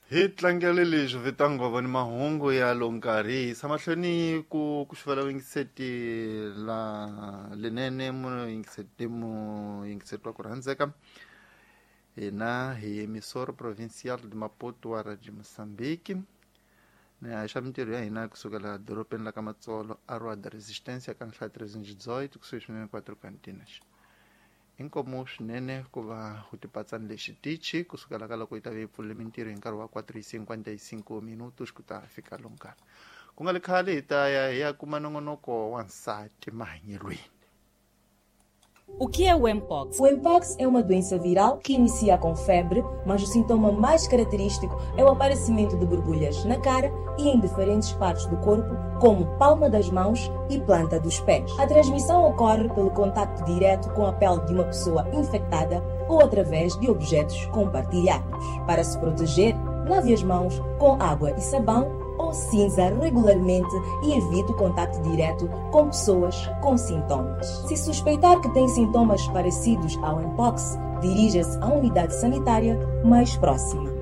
Hi tlangele leswi vitangova ni mahungu ya lo nkarhi hi yisa mahlweni ku ku xuvela vuyingiseti la lenene muyingiseti muyingiseti wa ku rhandzeka. Hina hi Emissora Provincial de Maputo wa Radio Moçambique, ni haxa mintirho ya hina kusukela dorobeni la ka Matsolo, a Rua da Resistência, ka nhlayo 318, kusuhi swinene kwa Cantinas. Inkomu swinene ku va u tipatsani lexi tichi kusukela ka loko yi ta ve yi pfulile mintirho hi nkarhi wa 4:55 minutos ku ta fika lo nkarhi ku nga le khale hi ta ya hi ya kuma nongonoko wa nsati mahanyelweni. O que é o Mpox? O Mpox é uma doença viral que inicia com febre, mas o sintoma mais característico é o aparecimento de borbulhas na cara e em diferentes partes do corpo, como palma das mãos e planta dos pés. A transmissão ocorre pelo contacto direto com a pele de uma pessoa infectada ou através de objetos compartilhados. Para se proteger, lave as mãos com água e sabão ou cinza regularmente e evite o contato direto com pessoas com sintomas. Se suspeitar que tem sintomas parecidos ao Mpox, dirija-se à unidade sanitária mais próxima.